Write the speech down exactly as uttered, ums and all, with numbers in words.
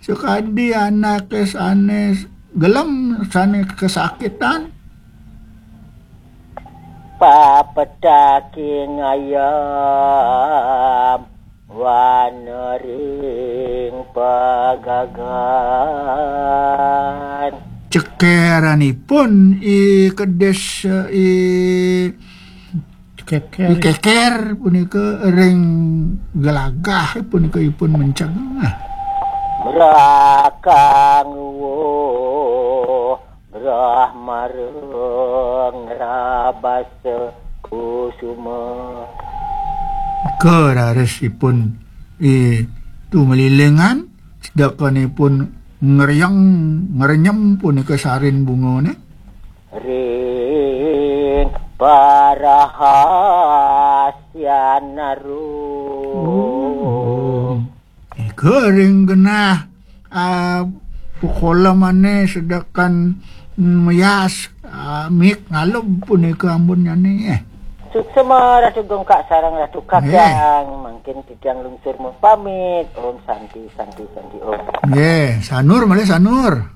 Sakadi anake sane gelem, sane kesakitan. Papetaking ayam wanering pagagan. Cekeranipun i kedis, i Keker. I keker punika ring gelagah punika ipun menceng. Brakang wo brahmareng rabasa kusuma. Keraris ipun i tumelilingan, sedekanipun ngreyeng, ngrenyem punika sarin bungane. Ring parahasyan arum. Oh. Nika ring genah, ah, pukolamane sedekan meyas, ah, mik ngalub punika ambunnyane, eh. Suksema Ratu Gungkak sareng Ratu Kakang, mangkin titiang lungsur mapamit. Om Santi, Santi, Santi, Om. Nggih, sanur malih sanur.